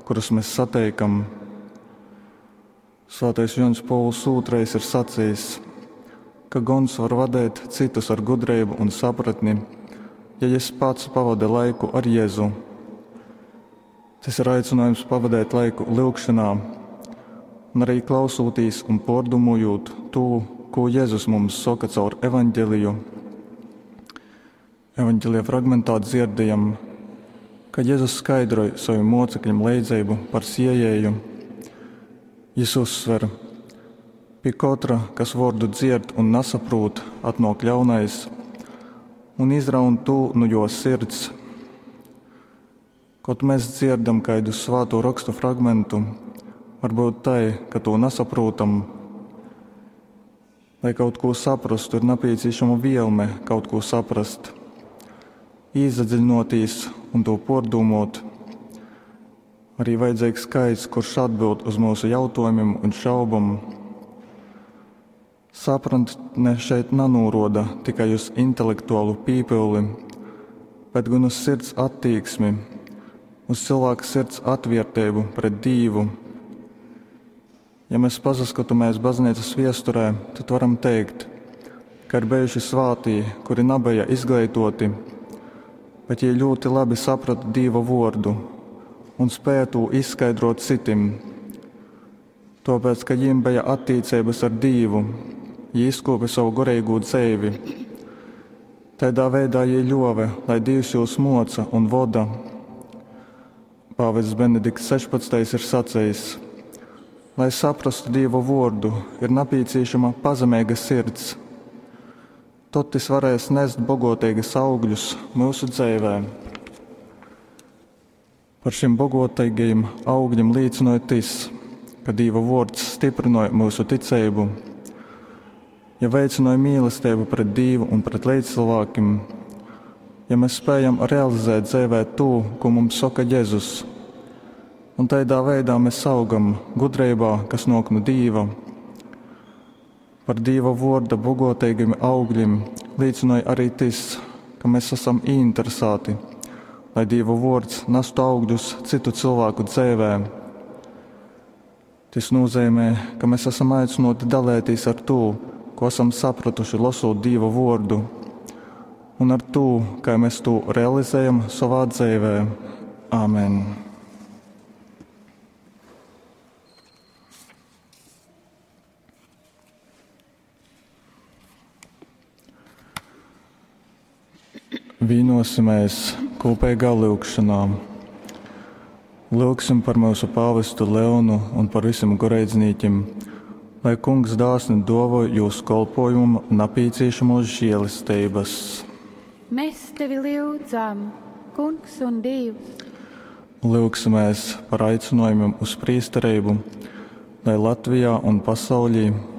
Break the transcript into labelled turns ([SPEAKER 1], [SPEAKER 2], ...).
[SPEAKER 1] kurus mēs sateikam. Svētais Joņs Pōvuls II ir sacījis, ka gons var vadēt citus ar gudrību un sapratni, ja jis pats pavada laiku ar Jēzu. Tas ir aicinājums pavadēt laiku lyugšanā un arī klausūtīs un pārdomojot to, ko Jēzus mums saka caur evaņģeliju. Evaņģelija fragmentā dzirdējam, ka Jēzus skaidroja saviem mocekļiem leidzeibu par siejēju. Jis uzsver, pie katra, kas vārdu dzird un nesaprūt, atnāk ļaunais un izraun tū nu jo sirds. Kaut mēs dzirdam kādu svāto rakstu fragmentu, varbūt tai, ka to nesaprotam. Lai kaut ko saprastu, ir nepieciešama vielme kaut ko saprast, īsadziļinoties un to pārdomot. Arī vajadzīgs skaits, kurš atbild uz mūsu jautājumiem un šaubam. Sapratne šeit nenoroda tikai uz intelektuālu pīpili, bet gan uz sirds attieksmi, uz cilvēka sirds atvērtību pret Dievu. Ja mēs pasaskatāmies baznīcas viesturē, tad varam teikt, ka ir bijuši svātī, kuri nebija izglītoti, bet jie ļoti labi saprata Dieva vārdu un spēja to izskaidrot citim. Tāpēc, ka viņiem bija attiecības ar Dievu, jie izkopa savu garīgo dzīvi. Tādā veidā jie ļāva, lai Dievs jūs moca un voda. Pāvests Benedikts 16. ir sacījis, lai saprastu Dieva vārdu, ir nepieciešama pazemīga sirds. Tad tas varēs nest bogotīgas augļus mūsu dzīvē. Par šiem bogotīgajiem augļiem liecināja tas, ka Dieva vārds stiprināja mūsu ticību, ja veicināja mīlestību pret Dievu un pret līdzcilvēkiem, ja mēs spējam realizēt dzīvē to, ko mums saka Jēzus, un tādā veidā mēs augam gudrībā, kas nāk no Dieva. Par Dieva vārda bogotīgiem augļiem liecināja arī tas, ka mēs esam ieinteresēti, lai Dieva vārds nestu augļus citu cilvēku dzīvē. Tas nozīmē, ka mēs esam aicināti dalīties ar to, ko esam sapratuši lasot Dieva vārdu, un ar to, kā mēs to realizējam savā dzīvē. Āmen! Vienosimies kopīgā lūgšanā. Lūgsim par mūsu pāvestu Leonu un par visiem goreidznīķiem, lai kungs dāsni dāvā jūsu kolpojumu nepieciešamos žēlestības.
[SPEAKER 2] Mēs tevi lūdzam, Kungs un Dievs.
[SPEAKER 1] Lūgsimies par aicinājumiem uz priesterību, lai Latvijā un pasaulī